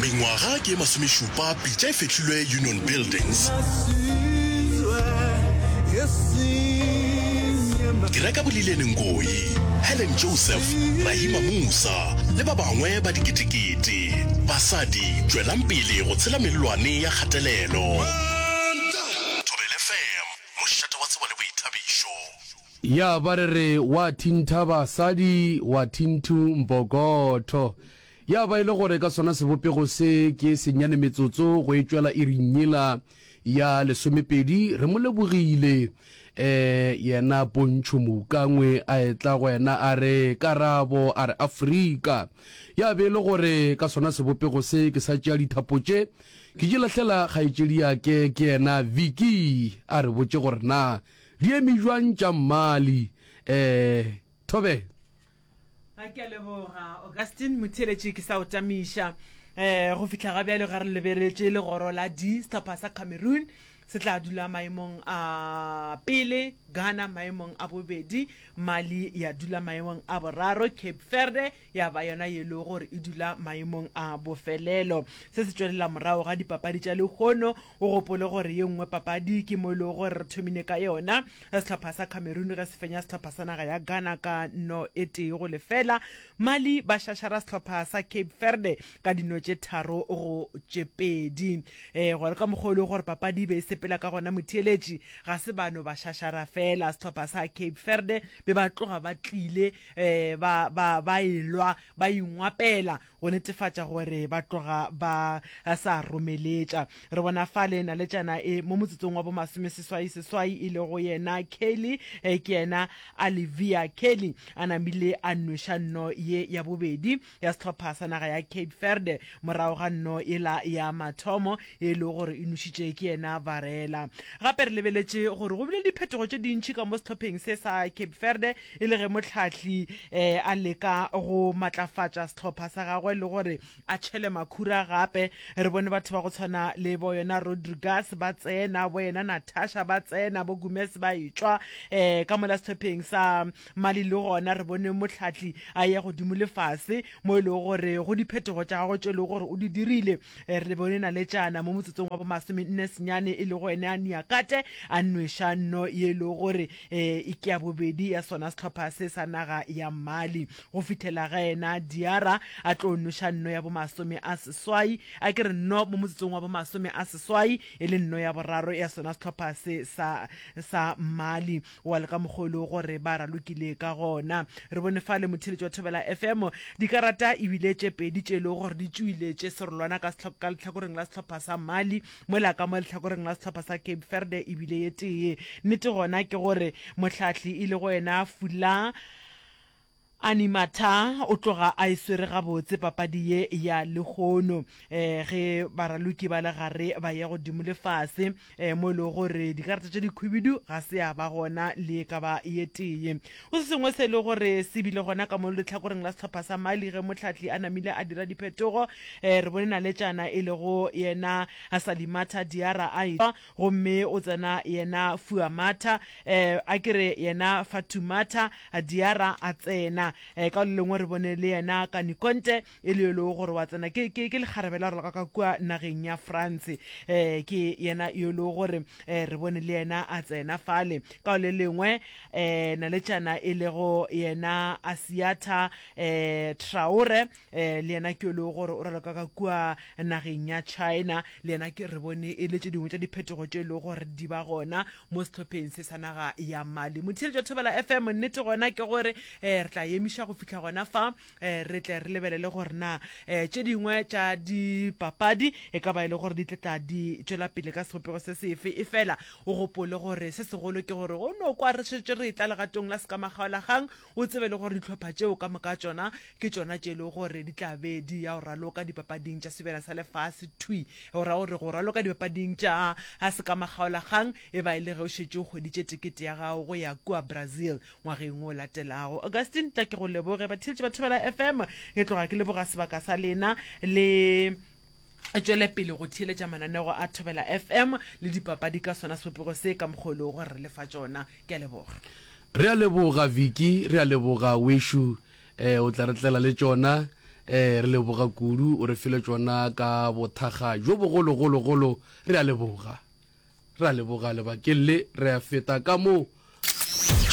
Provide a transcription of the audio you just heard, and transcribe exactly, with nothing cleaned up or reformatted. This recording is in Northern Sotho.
Mengwaga ke ye masomešupa pitša e fehlilwe Union Buildings. Dira ka Bolilene Ngoyi, Helen Joseph, Rahima Moosa le ba bangwe ba diketekete. Basadi, tšwelang pele go tshela mellwane ya kgatelelo. Thobela F M, mošate wa tsebo le boithabišo. Ya ba re re wa thintha basadi, wa thinthu mpokotho. Ya ba e le gore ka sona sebopego se ke senyane metsotso go e tšwela iring yela ya lesomepedi, re mo lebogile eh yena Pontšho Moukangwe a etla go yena a re karabo a re Afrika. Ya be e le gore ka sona sebopego se ke sa tšea dithapo tše ke di lahlela kgaetšedi ya ke ke yena Vicky a re botše gore na di eme bjang tša Mmali eh Thobela. A ke a leboga Augustine Motheeletši ke sa o tamiša. Um go fihla ga bjale ga re lebeletše legoro la D, sehlopha sa Cameroon se tla dula maemong a pele, Ghana maemong a bobedi, Mali ya dula maemong a boraro, Cape Verde ya ba yona ye lego gore e dula maemong a bofelelo. Se se tšwelela morago ga dipapadi tša lehono. O gopole gore ye nngwe papadi ke mo e lego gore re thomile ka yona, sehlopha sa Cameroon ge se fenya sehlopha sa naga ya Ghana ka no e tee go lefela. Mali ba šašara sehlopha sa Cape Verde ka dino tše tharo go tše pedi. E, gore ka mokgwa o lego gore papadi e be e sepela ka gona motheeletši, ga se ba no ba šašara fela sehlopha sa Cape Verde, be ba tloga ba tlile e, ba, ba, ba elwa, ba ingwapela go netefatša gore ba tloga ba sa romeletša. Re bona fale naletšana e mo motsotsong wa bomasomeseswai seswai e lego yena Kelly, e, ke yena Alivia Kelly a namile a nweša nno ye ya bobedi ya sehlopha sa naga ya Cape Verde morago ga nno yela ya mathomo ye e lego gore e nwešitše ke yena Varela. Gape re lebeletše gore go bile le diphetogo tše dintši ka mo sehlopheng se sa Cape Verde e le ge mohlahli a leka go matlafatša sehlopha sa gagwe le gore a tšhele makhura gape. Re bone batho ba go tshwana le bo yena Rodriguez ba tsena, bo yena Natasha ba tsena, bo Gomez ba etšwa um ka mola sehlopheng sa Mali le gona re bone mohlahli a ya godimo le fase mo e lego gore go diphetogo tša gagwe tše e lego gore o di dirile. Re bone naletšana mo motsotsong wa bomasomenne senyane e lego ene a Niakate a nweša nno ye e lego gore e ke ya bobedi ya sona sehlopha se sa naga ya Mali go fihlela ge yena Diarra a tlo nweša nno ya bomasome a seswai, a ke re nno mo motsotsong wa bomasome a seswai e le nno ya boraro ya sona sehlopha se sa sa Mali. Wa le ka mokgwa o lego gore ba ralokile ka gona. Re bone fale motheeletši wa Thobela F M dikarata e bile tše pedi tše e lego gore di tšwile tše serolwana ka ka lehlakoreng la sehlopha sa Mali mola ka mo lehlakoreng la sehlopha sa Cape Verde e bile ye tee. Nnete gona ke gore mohlahli e lego yena Fula Animatha o tloga a e swere gabotse papadi ye ya lehono ge baraloki ba le gare ba ya godimo le fase mo e lego gore dikarata tše dikhwibidu ga se ya ba gona le e ka ba ye tee. Go se sengwe se e lego gore se bile gona ka mo lehlakoreng la sehlopha sa Mali ge mohlahli a namile a dira diphetogo, re bone naletšana e lego yena Salimata Diarra a etšwa gomme o tsena yena Fuamata, a ke re yena Fatoumata Diarra a tsena. Ka le lengwe re bone le yena Kani Conte e le yo e lego gore wa tsena, ke, ke, ke lekgarebe la raloka ka kua nageng ya France. Ke yena yo e lego gore re bone le yena a tsena fale. Ka le lengwe naletšana e lego yena Asiata Traore, le yena ke yo e lego gore o raloka ka kua nageng ya China, le yena ke re bone e le tše dingwe tša diphetogo tše e lego gore di ba gona mo sehlopheng se sa naga ya Mali. Motheeletši wa Thobela F M, nnete gona ke gore re tla emiša go fihla gona fa, re tle re lebelele gore na tše dingwe tša dipapadi e ka ba e le gore di tle tla di tšwela pele ka sebopego se sefe. Efela o gopole gore se segolo ke gore go no kwa re šetše re etla legatong la sekamakgaolakgang, o tsebe le gore dihlopha tšeo ka moka tšona ke tšona tše e lego gore di tla be di ya go raloka dipapading tša Sebjana sa Lefase thwi. Go ra gore go raloka dipapading tša sekamakgaolakgang e ba e le ge o šetše o hweditše tekete ya gago go ya kua Brazil ngwageng o latelago. Augustine, tla ke go leboge. Batheeletši ba Thobela F M, ke tloga ke leboga sebaka sa lena le tšwele pele go theeletša mananego a Thobela F M le dipapadi ka sona sebopego se ka mokgwa o lego gore re le fa tšona. Ke a leboga. Re a leboga Vicky, re a leboga wešo, eh, o tla re tlela le tšona Eh, re leboga kudu, o re file tšona ka bothakga jo bogologologolo. Re a leboga, re a leboga lebakeng le. Re a feta ka mo